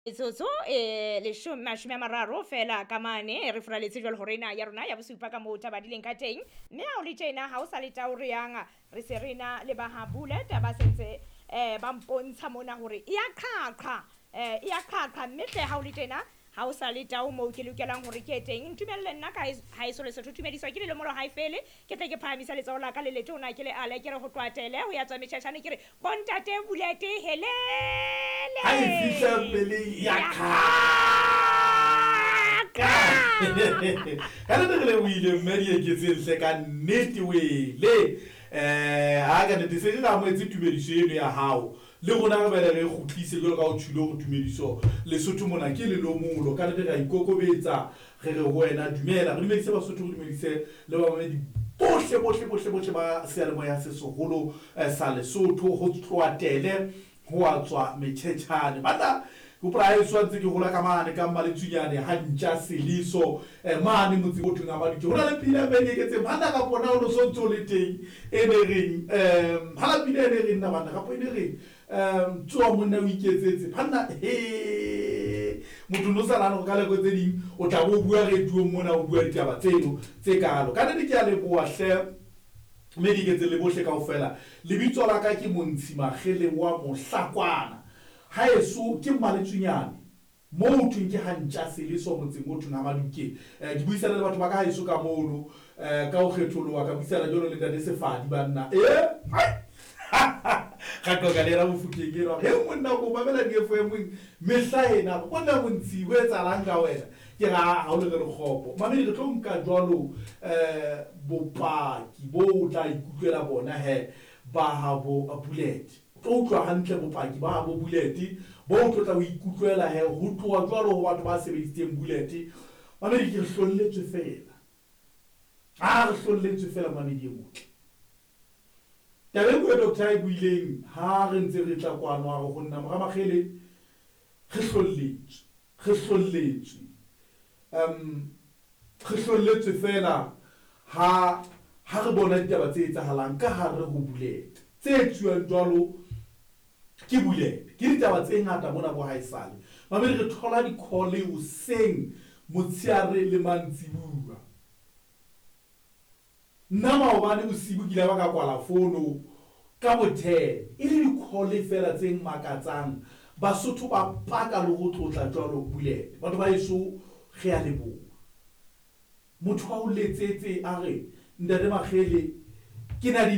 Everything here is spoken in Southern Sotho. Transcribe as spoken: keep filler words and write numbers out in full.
Metsotso e leshome mashome a mararo fela ka mane re furaletse jwalo hore ena ya rona ya bosupa ka moo taba di leng ka teng. Mme ha o le tjena ha o sa le tao re yang re se re na le ba ha Bullet ba sentse eh ba mpontsha mona hore e ya qhaqha, eh e ya qhaqha. Mme hle ha o le tjena ha o sa le tao moo ke lokelang hore ke teng, ntumelle nna ka haeso Lesotho tumediswa ke lelomolo ha e fele. Ke tle ke phahamisa letsoho la ka le letona ke le ale ke re ho tloatele ho ya tswa metjhetjhane ke re bontate Bullet helele ha e fihla pele ya qhaqha. Ka nnete re lebohile mme Dieketseng hle ka nnete wele. Eh ha ka nnete se re amohetse tumediso eno ya hao, le rona re bele re kgutlise jwalo ka o tjhilo hore tumediso Lesotho mona ke lelomolo. Ka nnete re a ikokobetsa, re re ho wena dumela, re dumedise Basotho, re dumedise le bamamedi bohle bohle bohle bohle ba seyalemoya se seholo sa Lesotho. Ho tloatele ho a tswa metjhetjhane banna. Hopola ha eso ntse ke hola ka mane ka Mmaletsunyane ha ntja Seleso mane motseng o thweng Amadutse, ho na le pina mme Dieketseng banna kapo na o no so ntse o le teng e ne reng um hala pina e ne reng na banna kapo e ne reng um tsoa monna o iketsetse banna. He motho no sa nahane hore ka nako tse ding o tla bo bua radiong mona o bua ditaba tseno tse kalo. Ka nnete ke a leboha hle mme Dieketseng le bohle kaofela. Lebitso la ka ke Montshi Makgele wa Mohlakwana, haeso ke Mmaletsunyane moo thweng ke ha ntja Seleso motseng o thweng Hamaduke. Ke buisana le batho ba ka haeso ka mono ka ho kgetholoha, ka buisana jwalo le ntate Sefadi banna. E ra qoqa le yena Mofokeng enwa, he monna ko mamela di-F M mehla ena monna Montshi ho etsahalang ka wena? Ke ra ha o le re lekgopo mamedi, re tlo nka jwalo um bopaki bo o tla ikutlwela bona he ba habo Bullet. O tlo utlwa hantle bopaki ba habo Bullet bo o tlo tla o ikutlwela he ho tloha jwalo ho batho ba sebedisitseng Bullet. Mamedi ke re hlolletswe fela, a re hlolletswe fela mamedi e motle. Taba e nngwe doctor e buileng ha re ntse re tla kwano a re ho nna mora Makgele re hlolletswe, re hlolletswe um re hlolletswe fela ha ha re bona ditaba tse etsahalang ka hare ho Bullet tse etsuwang jwalo ke Bullet. Ke ditaba tse ngata mona bo haesale mamedi, re thola di-call hoseng motsheare le mantsibuya. Nna maobane bosibu ke ile ba ka kwala fono ka bo ten e le di-call fela tse makatsang. Basotho ba paka le ho tlotla jwalo Bullet. Batho ba heso re a leboha. Motho a o letsetse a re ntate Makgele ke na di